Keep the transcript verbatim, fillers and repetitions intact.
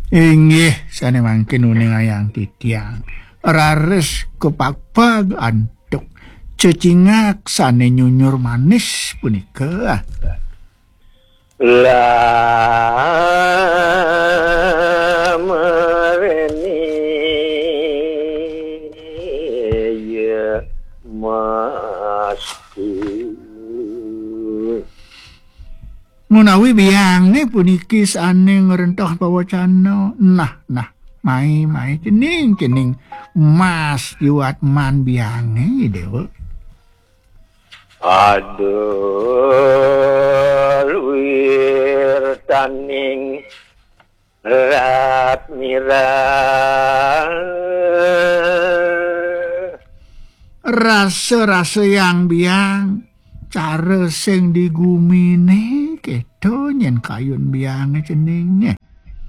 Inggih, sane mangkin uningayang titiang. Raris kepagbag antuk cecingak sane nyunyur manis punika. Lah mereni ya masku. Menawi biange puniki sane ngrentoh pawacana, nah, nah, mai, mai, cening, cening, mas yuat man biange, Dewa. Aduh, luir taning rat mirah. Rasa-rasa yang biang, cara sing di gumine, keto nyen kayun biange ceninge.